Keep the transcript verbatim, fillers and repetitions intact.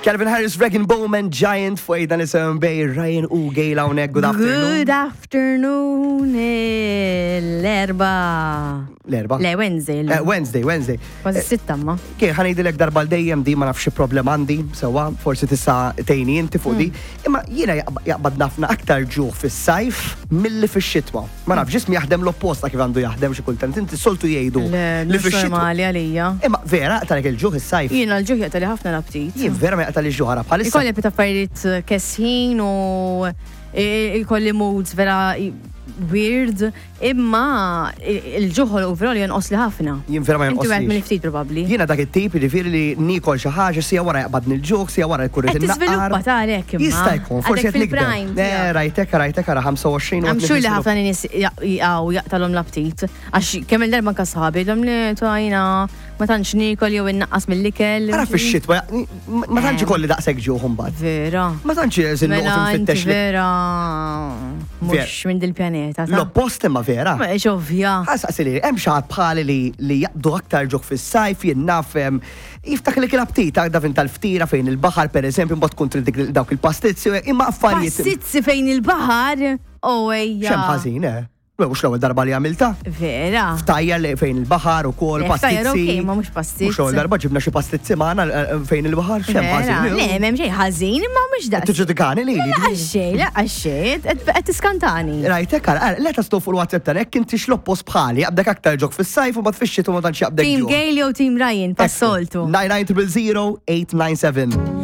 Calvin Harris, Regan Bowman, Giant fuq dan isem bej Ryan u Gail hawnhekk. Good afternoon. Good afternoon, l-Erbgħa. L-Erbgħa? Le, Wednesday. Eh, Wednesday, Wednesday. Kważi sitta ma. Kien ħa ngħidilek darba dejjem di ma nafx xi problem għandi, sewwa, forsi tista' tgħinni inti fuq di. Imma jiena jaqb- jaqbad nafna aktar ġuħ fis-sajf milli fix-xitwa. Ma nafx ġismi jaħdem l-oppost ta' kif għandu jaħdem xi kultant. Inti soltu jgħidu Le, li mhux fix-xitwa. normali għalija. Imma vera jaqtalek il-ġuħ is-sajf. Jiena l-ġuħ jaqtali ħafna l-aptit. Jien vera ma jaqtali ġuħ ara bħalissa. Ikolli aptit affarijiet kesħin u ikolli moods vera weird, imma il-ġuħ overall jonqos li ħafna. Jien vera ma Inti wieħed jonqoslix. mill-ftit probabbli. Jiena dak it-tip jiġifieri li niekol xi ħaġa siegħa wara jaqbadni l-ġuħ, siegħa wara jkun Qed tiżviluppa tarek imma. Jista' jkun, forsi Għadek qed nikber. fil-prime Ne, tiegħek. rajtek, rajtek ara ħamsa u għoxrin u I'm qed sure li niżviluppa. ħafna nies jaqgħu jaqtalhom l-aptit. Għax kemm il-darba anka sħabi, jgħidhom li tajna ma tantx niekol jew innaqqas mill-ikel. Ara fix-xitwa, ma tantx ikolli daqshekk ġuħ imbagħad. Vera. Ma tantx żin Mela noqgħod inti nfittex li. vera mhux minn dil-pjaneta. ta' L-oppost imma vera. Ma ovvja. Ħasaqsi li hemm xi ħadd bħali li li jaqbdu aktar ġuħ fis-sajf jien naf em, jiftak li kien aptit għadda fin tal-ftira fejn il-baħar pereżempju mbagħad tkun trid dik- dawk il-pastizzi imma affarijiet. Pastizzi fejn il-baħar. Oh ejja. X'hemm ħażin, eh? Mhux l-ewwel darba li għamilta. Vera. Ftajjar li fejn il-baħar u kol Le, ftajjar pastizzi. okej, ma mhux pastizz. Mhux l-ewwel darba ġibna xi pastizzi magħna eh, fejn il-baħar, x'hemm Vera. ħażin. Le, m'hemm xejn ħażin, imma mhux daqs. Tiġġudikani li La għaxxej, la għaxxej, qed tiskantani. Rajtek, ara, let us fuq il-WhatsApp tal hekk inti x'l-oppost bħali, jaqbdek aktar ġuħ fis-sajf u ma tfixxit u ma tantx jaqbdek Team ġuħ. Gail jew Team Ryan, pas-soltu. nine nine zero zero eight nine seven.